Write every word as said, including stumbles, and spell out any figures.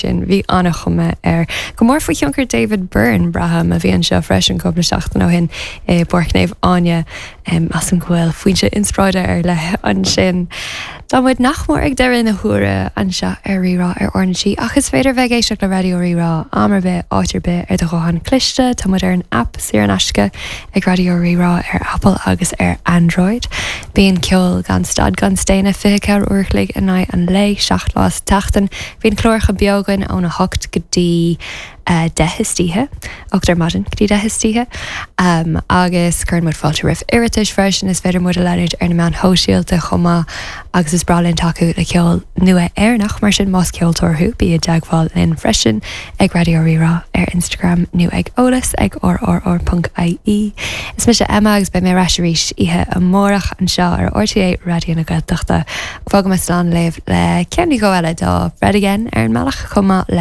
Sin bhí an-chuma air. Go mór faoi thionchar David Byrne braithim a bhí anseo freisin cúpla seachtain ó shin i bPáirc Naomh Áine as an bhfuil foinse inspioráide ar leith ansin. Tá muid nach mór ag deireadh na huaire anseo ar Rí-Rá ar RnaG ach is féidir bheith ag éisteacht le Raidió Rí-Rá am ar bith áit ar bith ar do ghuthán cliste Tá muid ar an app saor in aisce ag Raidió Rí-Rá ar Apple agus ar Android. Bíonn ceol gan stad gan staonadh fiche ceathair uair an chloig in aghaidh an lae seacht lá sa tseachtain, Bíonn cláracha beo againn óna hocht go dtí uh, deich istoíche ocht ar maidin go dtí deich istoíche um, agus cuireann muid fáilte roimh iarratais freisin is féidir muid a leanúint ar na meáin shóisialta chomh maith agus is breá linn tacú le ceol nua Éireannach mar sin más ceoltóir thú bí i dteagmháil linn freisin ag Raidió Rí-Rá ar Instagram nó ag eolas ag rrr.ie. Is mise Emma agus beidh mé ar ais arís oíche amárach anseo ar RTÉ Raidió na Gaeltachta. Fágfaidh mé slán libh le ceann eile de Fred again ar an mbealach chomh maith le